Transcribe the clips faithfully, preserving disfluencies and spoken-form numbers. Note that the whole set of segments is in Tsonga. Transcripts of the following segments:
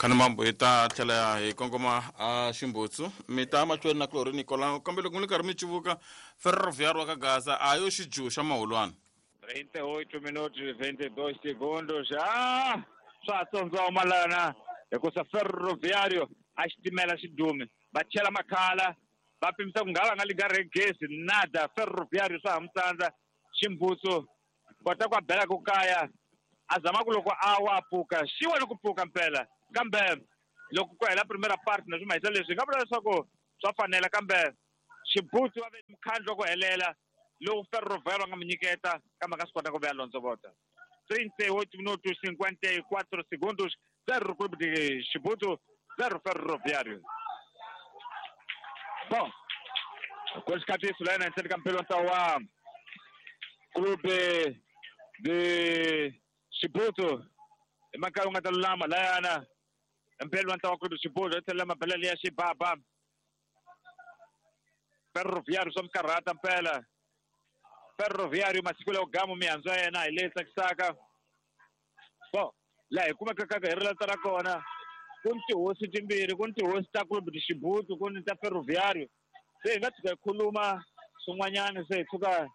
Khanimambo hi ta tlhela hi kongoma a Ximbutsu mi ta mahlweni na Chlorine Nicolau kambe loko mi ri karhi mi civuka Ferroviário wa ka Gaza a yo xijuhu xa mahulwana trinta e oito minutos e vinte e dois segundos. Ah, swa tsondzoma lana hikusa Ferroviário a xitimela xidumi va chela makhala va pimisa ku nga va nga liga gezi nada. Ferroviário swa ha mu tsandza Ximbutsu kota ku a bela ku kaya a zama ku loko a wa pfuka xiwa ni ku pfuka mpela kambe loko ku hela primera parte na swi mahisa leswi hi nga vula leswaku swa fanela kambe Ximbutsu va ve mukhandlu wa ku helela lowu Ferroviário va nga mu nyiketa kambe a nga swi kota ku vuya londzovota. trinta e oito minutos cinquenta e quatro segundos, zero Clube de Chibuto, zero Ferroviário. Bom, com esse lena ntseni ka mpelo ntlawa wa Clube de Chibuto i makaya wu nga ta lulama layana mpelo wa ntlawa wa Clube de Chibuto yi tlhela mabela liya xibaba Ferroviário swa mikarhata mpela. Ferroviário masiku lawa gamu mihandzu ya yena hi leyi tsakisaka. Bo laha hi kumeka kaka hi rilata ra kona ku ni tihosi timbirhi, ku ni tihosi ta Clube de Chibuto, ku ni ta Ferroviário. Se hi nga tshuka hi khuluma swin'wanyana se hi tshuka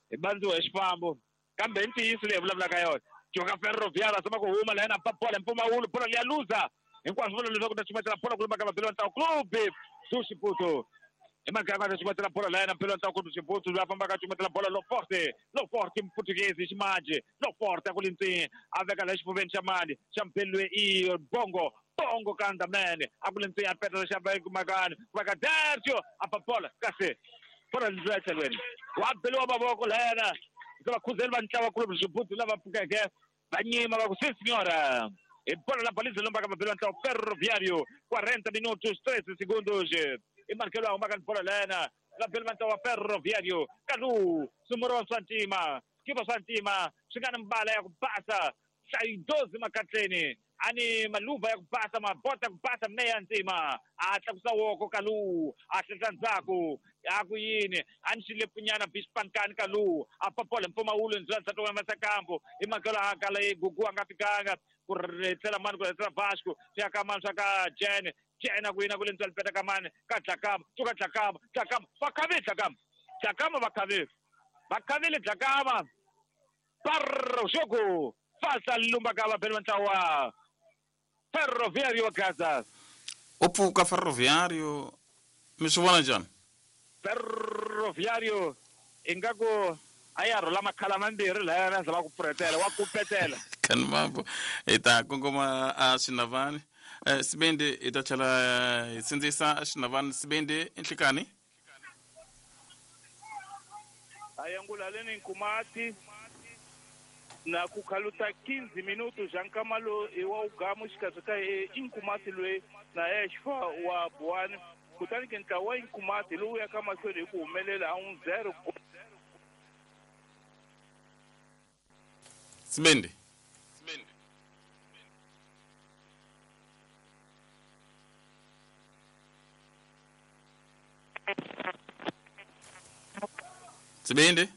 hi bandziwa hi xifambo kambe hi ntiyiso leyi hi vulavulaka yona. Joka Ferroviário a zama ku huma laha na ba bola mpfumawulo bola liya luza hinkwaswo vula leswaku ta chumatela bola ku lumaka mabelo ntlawa Clube do Chibuto. I magama ta chumatela bola laha na mpelo ntlawa Clube do Chibuto loyi a fambaka a chumatela bola lo forte lo forte Portuguese ximanjhe lo forte a ku lintsini a veka laha xifuveni xa mali xa mpelo i bongo bongo kanda mene a ku lintsini a petela xa makani ku veka Dercio a ba bola kasi bola ndlela tlhelweni wa beliwa mavoko lahayana se vakhuzeli va ntlawa Clube do Chibuto lava pfukeke va nyima va ku si senhora i bola la baliza lombaka mabelo ya ntlawa Ferroviário quarenta minutos treze segundos i markelo a humaka ni bola lena va beli va ntlawa Ferroviário Kalu sumuro swa ntima skipa swa ntima swi nga ni mbala ya ku basa hlayi doze makatleni ani maluva ya ku basa mabota ya ku basa meya ntima a tlakusa woko Kalu a hlehla ndzhaku a ku yini a ni xilepunyana bispankani Kalu a papola mpfumawulo ndzula ndzhaku wa masakambo i makelo a kala i gugu a nga fikanga ku tlhela mani ku tlhela Vasco swi ya ka mani swa ka Jene Jene ku yina ku le ndzula lipeta ka mani ka Dlakama tsuka Dlakama Dlakama va khavile Dlakama Dlakama va khavile va khavile Dlakama parro jogo falta lumba ka vabeli va ntlawa Ferroviário wa Gaza. U pfuka Ferroviário mi swi vona njhani? Ferroviário ingaku a ya rhula makhala mambirhi lahayana zama ku pfurhetela wa kupetela. Khanimambo hi ta kongoma a Xinavani Sibindi hi ta tlhela hi sindzisa Xinavani Sibindi nhlikani ayangula leni Nkumati na kukhaluta quinze minutos já nkamalo wa ugamu xikatsuka Inkumati lwe na exfa wa Buani kutani ke ntlawa wa Inkumati lowu ya ka mahlweni hi ku humelela a un zero. Sibindi Sibindi